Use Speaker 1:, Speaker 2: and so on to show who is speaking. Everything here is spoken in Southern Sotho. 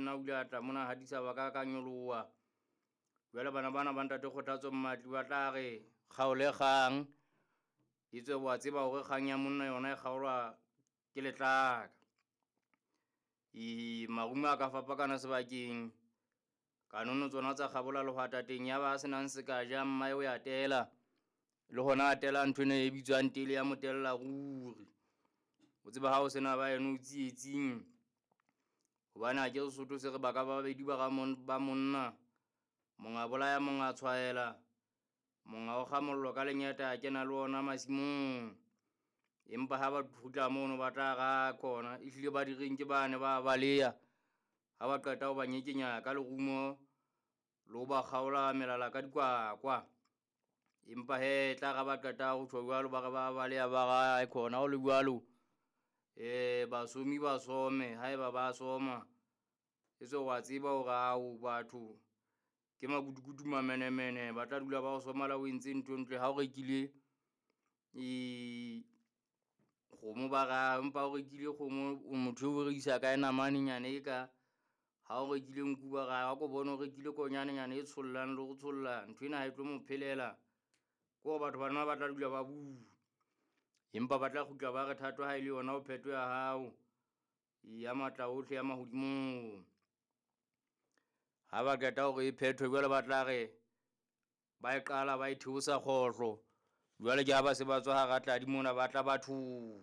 Speaker 1: nna o ile a tla mona hatisa ba ka ka nyoloha. Jwale bana bana ba ntate Kgothatso Mmatli ba tla re kgaole kgang, etswe wa tseba hore kgang ya monna yona e kgaolwa ke letlaka. E marumo a ka fapakana sebakeng, kanono tsona tsa kgabola lehwatateng, ya ba senang se ka ja mmae o ya tela, le hona a tela nthwena e bitswang tele ya motella ruri. O tseba ha o sena ba eno o tsietsing, hobane ha ke re Sesotho se re baka ba babedi ba ba monna, monga bolaya monga tshwaela, monga o kga mollo ka lengeta a kena le ona masimong. Empa ha ba kgutla mono ba tla ra khona, ehlile ba direng ke bane ba baleya. Ha ba qeta ho ba nyekenya ka lerumo le ho ba kgaola melala ka dikwakwa. Empa he tla ra ba qeta ho tjho jwalo, ba re ba baleya ba ra khona ho le jwalo. Basomi ba some haeba ba soma, etswe wa tseba hore ao batho ke makutukutu mamenemene, ba tla dula ba o soma le ha o entse ntho e ntle. Ha o rekile e kgomo ba ra empa o rekile kgomo, o motho o rekisa kae namanenyane e ka. Ha o rekile nku ba ra ha ko bone o rekile konyanenyana e tshollang le ho tsholla, nthwena ha e tlo mo phelela. Ke hore batho bana ba tla dula ba bua, empa ba tla kgutla ba re thato ha e le yona o phetho ya hao ya matla ohle ya mahodimong. Ha ba qeta hore e phethwe jwale ba tla re ba e qala ba e theosa kgohlo. Jwale ke ha ba se ba tswa hara tladi mona ba tla bathong.